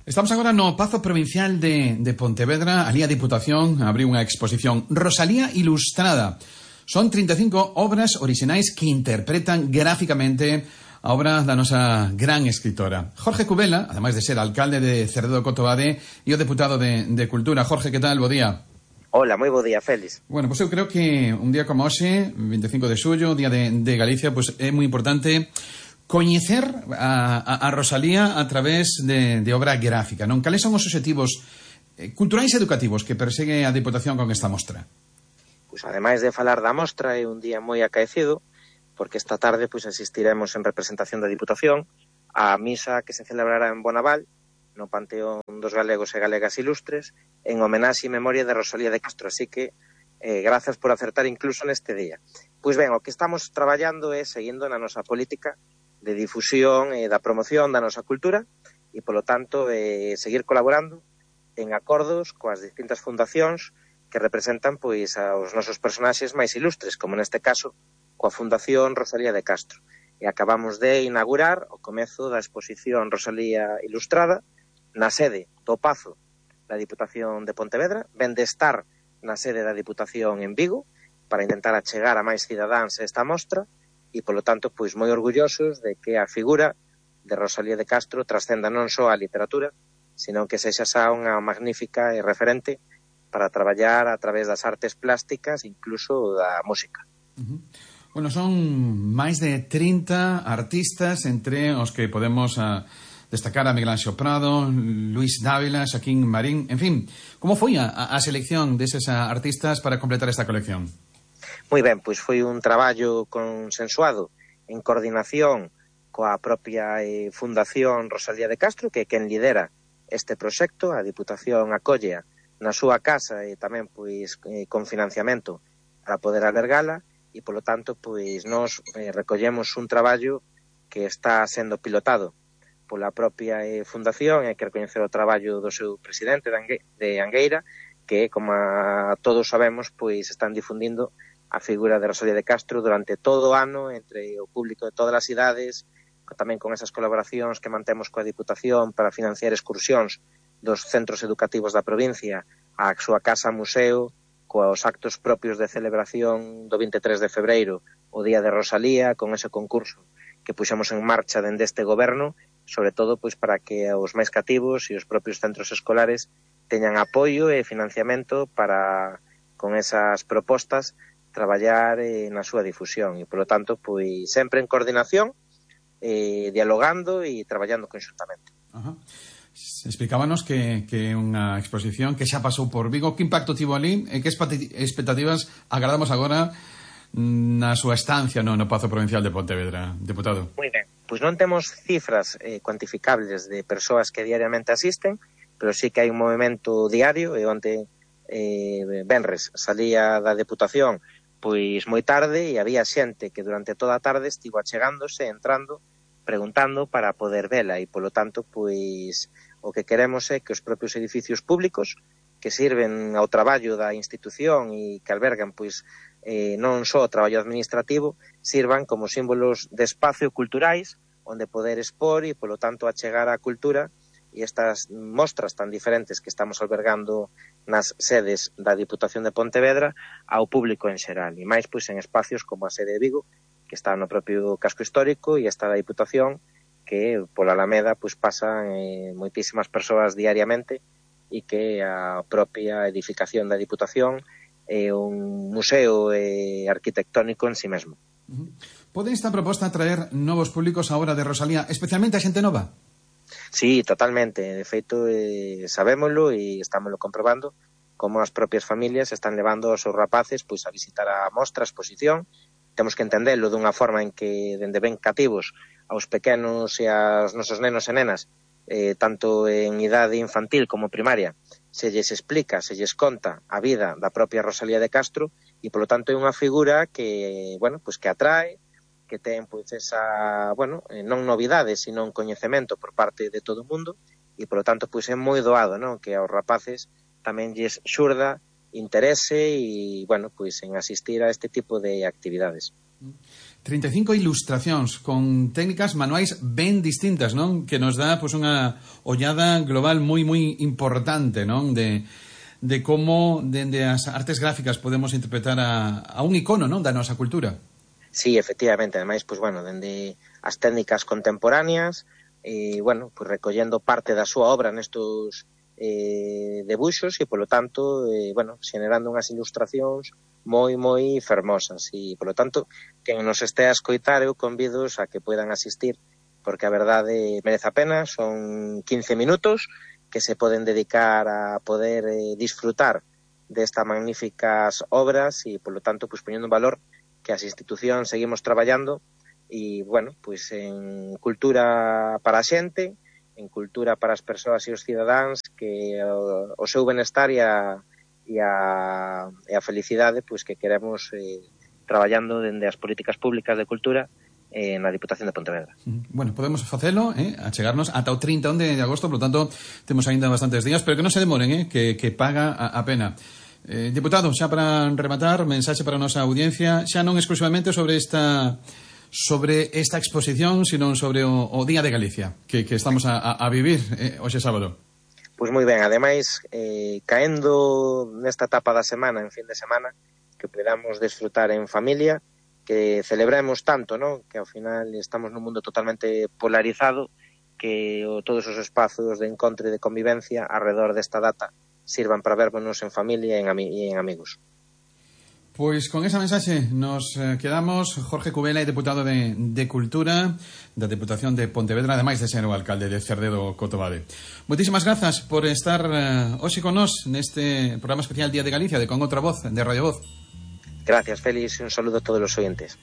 Estamos agora no Pazo Provincial de Pontevedra. Ali a Diputación abriu unha exposición Rosalía Ilustrada. Son 35 obras orixinais que interpretan gráficamente a obra da nosa gran escritora. Jorge Cubela, ademais de ser alcalde de Cerredo Cotobade e o deputado de Cultura. Jorge, que tal? Bo día. Hola, moi bo día, Félix. Bueno, pois eu creo que un día como hoxe, 25 de xullo, día de Galicia, pois é moi importante coñecer a Rosalía a través de obra gráfica, non? Cales son os obxectivos culturais e educativos que persegue a Diputación con esta mostra? Pois ademais de falar da mostra, é un día moi acaecido, porque esta tarde pois asistiremos en representación da Diputación á misa que se celebrará en Bonaval, no Panteón dos Galegos e Galegas Ilustres, en homenaxe e memoria de Rosalía de Castro, así que grazas por acertar incluso neste día. Pois ben, o que estamos traballando é seguindo na nosa política de difusión e da promoción da nosa cultura e, polo tanto, seguir colaborando en acordos coas distintas fundacións que representan pois aos nosos personaxes máis ilustres, como neste caso coa Fundación Rosalía de Castro. E acabamos de inaugurar o comezo da exposición Rosalía Ilustrada na sede do Pazo da Diputación de Pontevedra, ven de estar na sede da Diputación en Vigo para intentar achegar a máis cidadáns esta mostra e, polo tanto, pois moi orgullosos de que a figura de Rosalía de Castro trascenda non só a literatura, sino que sexa xa unha magnífica e referente para traballar a través das artes plásticas, incluso da música. Bueno, son máis de 30 artistas, entre os que podemos destacar a Miguel Anxo Prado, Luis Dávila, Xaquín Marín, en fin. Como foi a selección deses artistas para completar esta colección? Moi ben, pois foi un traballo consensuado en coordinación coa propia Fundación Rosalía de Castro, que é quen lidera este proxecto. A Diputación acollea na súa casa e tamén pois con financiamento para poder albergala e, polo tanto, pois nos recollemos un traballo que está sendo pilotado pola propia Fundación, e hai que recoñecer o traballo do seu presidente de Angueira, que, como todos sabemos, pois están difundindo a figura de Rosalía de Castro durante todo o ano entre o público de todas as idades, tamén con esas colaboracións que mantemos coa Diputación para financiar excursións dos centros educativos da provincia á súa casa museo, coa actos propios de celebración do 23 de febreiro, o Día de Rosalía, con ese concurso que puxemos en marcha dende este goberno, sobre todo pois para que os máis cativos e os propios centros escolares teñan apoio e financiamento para, con esas propostas, traballar na súa difusión e, polo tanto, pois sempre en coordinación, dialogando e traballando conxuntamente. Explicábanos que é unha exposición que xa pasou por Vigo. Que impacto tivo ali e que expectativas agardamos agora na súa estancia no Pazo Provincial de Pontevedra, deputado? Moi ben, pois non temos cifras cuantificables de persoas que diariamente asisten, pero sí que hai un movimento diario, e onte venres salía da Deputación pois moi tarde e había xente que durante toda a tarde estivo achegándose, entrando, preguntando para poder vela e, polo tanto, pois o que queremos é que os propios edificios públicos que sirven ao traballo da institución e que albergan pois non só o traballo administrativo, sirvan como símbolos de espacio culturais onde poder expor e, polo tanto, achegar a cultura e estas mostras tan diferentes que estamos albergando nas sedes da Diputación de Pontevedra ao público en xeral, e máis pois en espacios como a sede de Vigo, que está no propio casco histórico, e esta da Diputación, que pola Alameda pois pasan moitísimas persoas diariamente, e que a propia edificación da Diputación é un museo arquitectónico en si mesmo. Pode esta proposta traer novos públicos á obra de Rosalía, especialmente a xente nova? Sí, totalmente. De feito, sabémolo e estámoslo comprobando como as propias familias están levando aos seus rapaces pois a visitar a mostra, a exposición. Temos que entendelo dunha forma en que dende ben cativos aos pequenos e aos nosos nenos e nenas, tanto en idade infantil como primaria, se lles explica, se lles conta a vida da propia Rosalía de Castro e, polo tanto, é unha figura que, bueno, pois que atrae, que ten pois esa, bueno, non novidade, sino un coñecemento por parte de todo o mundo e, polo tanto, pois é moi doado, non, que aos rapaces tamén lles xurda interese e, bueno, pois en asistir a este tipo de actividades. 35 ilustracións con técnicas manuais ben distintas, non? Que nos dá pois unha ollada global moi importante, non? De como dende as artes gráficas podemos interpretar a un icono, non? Da nosa cultura. Sí, efectivamente, ademais, pois bueno, dende as técnicas contemporáneas, bueno, pois recollendo parte da súa obra nestos debuxos e, polo tanto, bueno, xenerando unhas ilustracións moi fermosas e, polo tanto, quen nos este a escoitar eu convidos a que poidan asistir porque a verdade merece a pena, son 15 minutos que se poden dedicar a poder disfrutar destas magníficas obras e, polo tanto, pois poñendo en valor que as institucións seguimos traballando e, bueno, pois en cultura para a xente, en cultura para as persoas e os cidadáns, que o seu benestar e a felicidade pois que queremos traballando dende as políticas públicas de cultura na Diputación de Pontevedra. Bueno, podemos facelo, achegarnos ata o 31 de agosto, por lo tanto, temos aínda bastantes días, pero que non se demoren, que paga a pena. Diputado, xa para rematar, mensaxe para a nosa audiencia, xa non exclusivamente sobre esta exposición, sino sobre o Día de Galicia que estamos a vivir hoxe sábado. Pois moi ben, ademais, caendo nesta etapa da semana, en fin de semana, que podamos desfrutar en familia, que celebremos tanto, ¿no? Que ao final estamos nun mundo totalmente polarizado, que todos os espazos de encontro e de convivencia alrededor desta data sirvan para vernos en familia e en amigos. Pois con esa mensaxe nos quedamos. Jorge Cubela, deputado de Cultura da Deputación de Pontevedra, ademais de ser o alcalde de Cerdedo Cotobade. Moitísimas grazas por estar hoxe con nós neste programa especial Día de Galicia de Con Outra Voz, de Radio Voz. Gracias, Félix, un saludo a todos os oyentes.